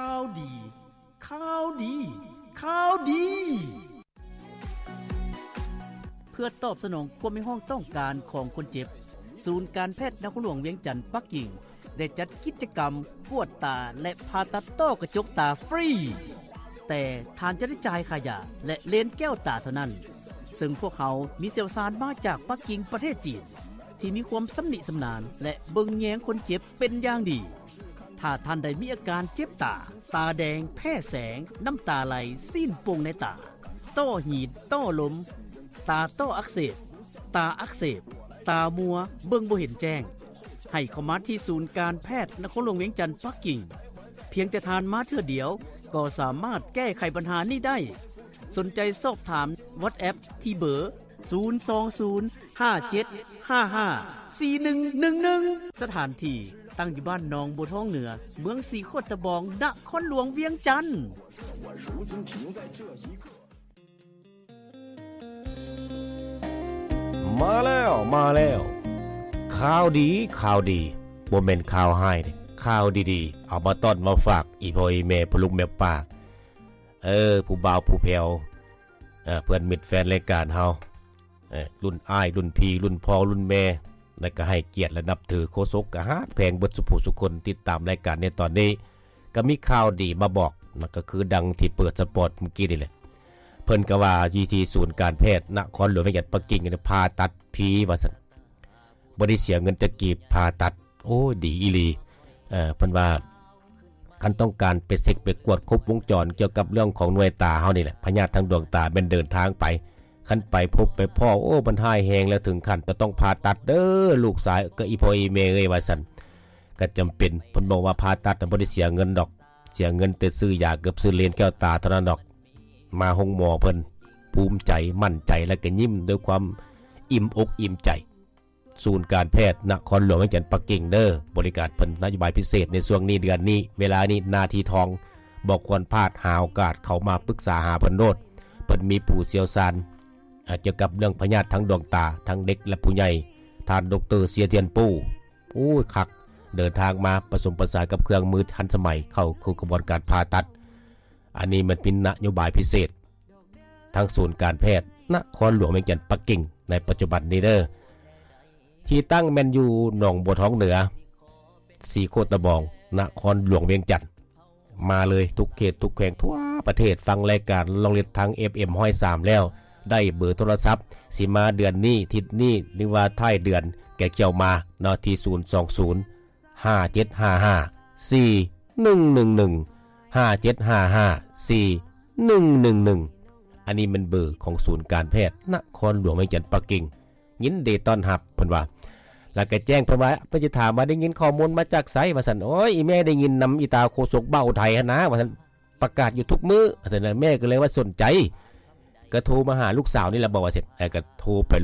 ຂ່າວດີ ຂ່າວດີ ຂ່າວດີ. ເພື່ອຕອບສະໜອງຄວາມຮຽກຮ້ອງຕ້ອງການຂອງຄົນເຈັບ, ສູນການແພດນະຄອນຫຼວງວຽງຈັນປັກກິ່ງ ໄດ້ຈັດກິດຈະກຳກວດຕາ ແລະ ຜ່າຕັດຕ້ອກະຈົກຕາຟຣີ, ແຕ່ທ່ານຈະໄດ້ຈ່າຍຄ່າຢາ ແລະ ເລນແກ້ວຕາເທົ່ານັ້ນ, ເຊິ່ງພວກເຮົາມີຊ່ຽວຊານມາຈາກປັກກິ່ງປະເທດຈີນ ທີ່ມີຄວາມຊຳນິຊຳນານ ແລະ ເບິ່ງແຍງຄົນເຈັບເປັນຢ່າງດີ. ຖ້າທ່ານໃດມີອາການເຈັບຕາ, ຕາແດງ, ແພ້ແສງ, ນ້ຳຕາໄຫຼ, ຊີ້ນປ່ງໃນຕາ, ຕ້ອຫີນ, ຕ້ລົມ, ຕາຕ້ອອັກເສບ, ຕາອັກເສບ, ຕາມົວ, ເບິ່ງບໍ່ເຫັນແຈ້ງ, ໃຫ້ເຂົ້າມາທີ່ສູນການແພດນະຄອນຫຼວງວຽງຈັນປັກກິ່ງ. ພຽງແຕ່ທ່ານມາເທື່ອດຽວ ກໍສາມາດແກ້ໄຂບັນຫານີ້ໄດ້. ສົນໃຈສອບຖາມ WhatsApp ທີ່ເບີ ສູນສອງສູນ ຫ້າເຈັດຫ້າຫ້າ ສີ່ໜຶ່ງໜຶ່ງໜຶ່ງ. ສະຖານທີ່ຕັ້ງຢູ່ບ້ານໜອງບົວທອງເໜືອ, ເມືອງສີໂຄດຕະບອງ, ນະຄອນຫຼວງວຽງຈັນ. ມາແລ້ວ ມາແລ້ວ ຂ່າວດີ ຂ່າວດີ ບໍ່ແມ່ນຂ່າວຮ້າຍເດ້ ຂ່າວດີໆ ເອົາມາຕ້ອນມາຝາກ ອີ່ພໍ່ອີ່ແມ່ ພໍ່ລຸງແມ່ປ້າ ເອີ ຜູ້ບ່າວຜູ້ແພ້ວ ເອີ ເພື່ອນມິດແຟນລາຍການເຮົາ ເອີ ລຸ້ນອ້າຍ ລຸ້ນພີ່ ລຸ້ນພໍ່ ລຸ້ນແມ່ ແລະ ກໍໃຫ້ກຽດ ແລະ ນັບຖື ໂຄສົກກໍຮັກແພງເບິດສູ່ຜູ້ສູ່ຄົນ ຕິດຕາມລາຍການໃນຕອນນີ້ ກໍມີຂ່າວດີມາບອກນະ ກໍຄືດັ່ງທີ່ເປີດສະປອດມື້ກີ້ນີ້ແຫຼະ ເພິ່ນກໍວ່າຢູ່ທີ່ສູນການແພດນະຄອນຫຼວງວຽງຈັນປັກກິ່ງ ຜ່າຕັດຟຣີວ່າຊັ້ນ ບໍ່ໄດ້ເສຍເງິນຈັກກີບ ຜ່າຕັດ ໂອ້ຍ ດີອີ່ຫຼີ ເອີ ເພິ່ນວ່າ ຄັນຕ້ອງການໄປເຊັກໄປກວດຄົບວົງຈອນກ່ຽວກັບເລື່ອງຂອງໜ່ວຍຕາເຮົານີ້ແຫຼະ ພະຍາດທາງດວງຕາແມ່ນເດີນທາງໄປ ຄັນໄປພົບໄປພໍ້ ໂອ້ ມັນຮ້າຍແຮງແລ້ວ ເຖິງຂັ້ນຈະຕ້ອງຜ່າຕັດເດີ ລູກຊາຍ ກໍອີ່ພໍ່ອີ່ແມ່ເອີຍ ວ່າຊັ້ນ ກໍຈຳເປັນ ເພິ່ນບອກວ່າຜ່າຕັດນະ ບໍ່ໄດ້ເສຍເງິນດອກ ເສຍເງິນແຕ່ຊື້ຢາກັບຊື້ເລນແກ້ວຕາເທົ່ານັ້ນດອກ ມາໂຮງໝໍເພິ່ນ ພູມໃຈ ໝັ້ນໃຈ ແລະ ກໍຍິ້ມດ້ວຍຄວາມອີ່ມອົກອີ່ມໃຈ. ສູນການແພດນະຄອນຫຼວງວຽງຈັນປັກກິ່ງເດີ ບໍລິການເພິ່ນ ນະໂຍບາຍພິເສດໃນຊ່ວງນີ້ ເດືອນນີ້ ເວລານີ້ ນາທີທອງ ບໍ່ຄວນພາດ ຫາໂອກາດເຂົ້າມາປຶກສາຫາເພິ່ນໂລດ ເພິ່ນມີຜູ້ຊ່ຽວຊານ ອາ ກ່ຽວກັບເລື່ອງພະຍາດທາງດວງຕາ ທັງເດັກ ແລະ ຜູ້ໃຫຍ່ ທ່ານ ດຣ ເຊຍທຽນປູ ໂອ້ຍ ຄັກ ເດີນທາງມາປະສົມປະສານກັບເຄື່ອງມືທັນສະໄໝ ເຂົ້າສູ່ຂະບວນການຜ່າຕັດ ອັນນີ້ມັນເປັນນະໂຍບາຍພິເສດ ທາງສູນການແພດນະຄອນຫຼວງວຽງຈັນປັກກິ່ງໃນປັດຈຸບັນນີ້ເດີ ທີ່ຕັ້ງແມ່ນຢູ່ໜອງບົວທອງເໜືອ ສີໂຄດຕະບອງ ນະຄອນຫຼວງວຽງຈັນ ມາເລີຍ ທຸກເຂດທຸກແຂວງທົ່ວປະເທດ ຟັງລາຍການລອງເລັດທາງ ເອັຟເອັມຮ້ອຍສາມ ແລ້ວ ໄດ້ເບີໂທລະສັບ ຊິມາເດືອນນີ້ ທິດນີ້ ຫຼືວ່າທ້າຍເດືອນ ແກ່ກ່ຽວມາເນາະ ທີ່ ສູນສອງສູນ ຫ້າເຈັດຫ້າຫ້າ ສີ່ໜຶ່ງໜຶ່ງໜຶ່ງ ຫ້າເຈັດຫ້າຫ້າ ສີ່ໜຶ່ງໜຶ່ງໜຶ່ງ ອັນນີ້ແມ່ນເບີຂອງສູນການແພດນະຄອນຫຼວງວຽງຈັນປັກກິ່ງ ຍິນດີຕ້ອນຮັບ ເພິ່ນວ່າ ແລ້ວກໍແຈ້ງເພິ່ນວ່າ ເພິ່ນຊິຖາມວ່າ ໄດ້ຍິນຂໍ້ມູນມາຈາກໃສ ວ່າຊັ້ນ ໂອ້ຍ ອີ່ແມ່ໄດ້ຍິນນຳອີ່ຕາໂຄສົກບ່າວໄທຫັ້ນນາ ວ່າຊັ້ນ ປະກາດຢູ່ທຸກມື້ ວ່າຊັ້ນ ແມ່ກໍເລີຍວ່າສົນໃຈ ກໍໂທມາຫາລູກສາວນີ້ແຫຼະ ບອກວ່າຊັ້ນ ແລ້ວກໍໂທໄປໂລ